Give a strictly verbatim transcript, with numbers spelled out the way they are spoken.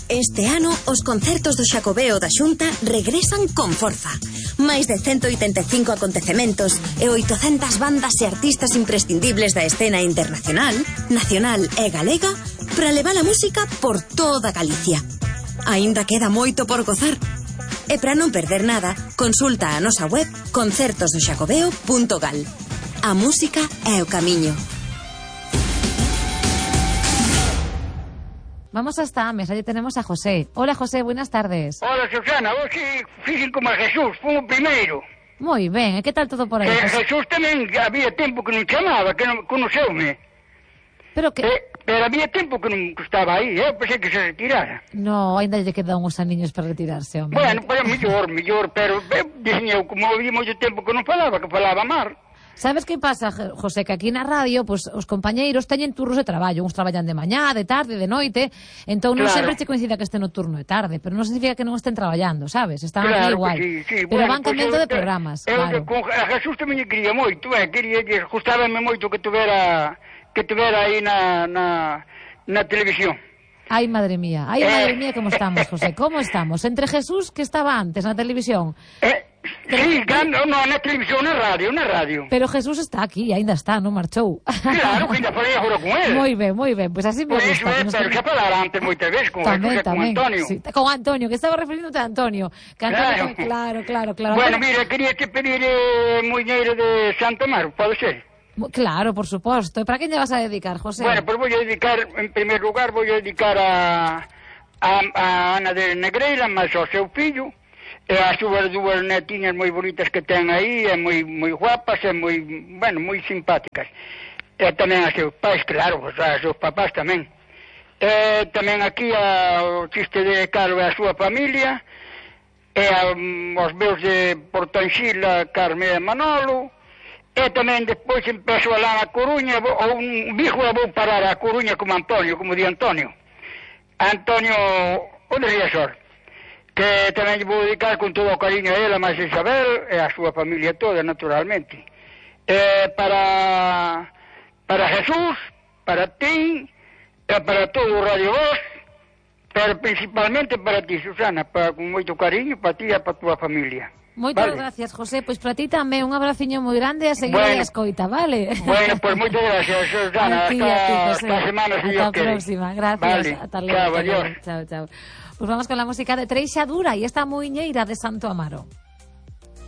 Este ano, os concertos do Xacobeo da Xunta regresan con forza. Máis de ciento oitenta e cinco acontecementos e oitocentas bandas e artistas imprescindibles da escena internacional, nacional e galega para levar a música por toda Galicia. Aínda queda moito por gozar. E para non perder nada, consulta a nosa web concertos do xacobeo punto gal. A música é o camiño. Vamos hasta Ames, allí tenemos a José. Hola José, buenas tardes. Hola Susana, vos si fixen como a Jesús, fue o primeiro. Moi ben, e que tal todo por aí? Que José? Jesús tamén había tempo que non chamaba, que non conoceume. Pero que... Eh, pero había tempo que non que estaba aí, eu pensei que se retirara. No, ainda lle quedan uns aniños para retirarse, hombre. Bueno, pero mellor, mellor, pero eh, dixen eu, como había moito tempo que non falaba, que falaba mar. Sabes que pasa, José, que aquí na radio, pues, os compañeiros teñen turnos de traballo, uns traballan de mañá, de tarde, de noite, entón non Claro. sempre che coincida que este no turno de tarde, pero non significa que non estén traballando, sabes? Están Claro aquí que igual. sí, sí. Pero Bueno, van pois cambiando eu- de programas, eu, claro. Con a Jesús tamén lle quería moito, eh, quería que gustábame moito que tuvera que tuvera aí na, na, na televisión. Ay, madre mía, ay, Eh. madre mía, ¿cómo estamos, José? ¿Cómo estamos? Entre Jesús, que estaba antes na televisión, Eh, sí, cando, no, na televisión, na radio, na radio. pero Jesús está aquí, ainda está, non marchou. Claro, que ainda falei agora con él. Moi ben, moi ben, pois pues así me Por gusta. iso, que eh, nos pero quede- xa falara antes moitas veces con Tamén, Jesús e con tamén. Antonio. Sí, con Antonio, que estaba referindote a Antonio. Que Antonio, Claro. claro, claro, claro. Bueno, Antonio- mira, quería que pedir eh, muñeiro de Santo Amaro, pode ser? Claro, por suposto. E para quen lle vas a dedicar, José? Bueno, pues voy a dedicar, en primer lugar, voy a dedicar a, a, a Ana de Negreira, máis ao seu fillo, e as súas dúas netiñas moi bonitas que ten aí, e moi moi guapas, e moi, bueno, moi simpáticas. E tamén a seus pais, claro, pues, a seus papás tamén. E tamén aquí a, o chiste de Carlos e a súa familia, e a, mm, os meus de Portanxila, Carme e Manolo, e tamén despois empezo a lá na Coruña, vou- ou un bijo e vou parar a Coruña como Antonio, como di Antonio. Antonio, o de Riazor, que tamén lle vou dedicar con todo o cariño a ela, máis a Isabel, e a súa familia toda, naturalmente. E para, para Jesús, para ti, e para todo o Radio Voz, pero principalmente para ti, Susana, para, con moito cariño, para ti e para a tua familia. Moitas Vale. gracias, José. Pois para ti tamén un abraciño moi grande e a seguir Bueno. a escoita, vale? Bueno, pues muchas gracias, Susana. A ti, hasta, a ti, José. hasta semana, si Hasta Dios la quiere. próxima. Gracias. Vale. Hasta luego. Chao, hasta luego. adiós. Chao, chao. Pues vamos con la música de Treixadura y esta muiñeira de Santo Amaro.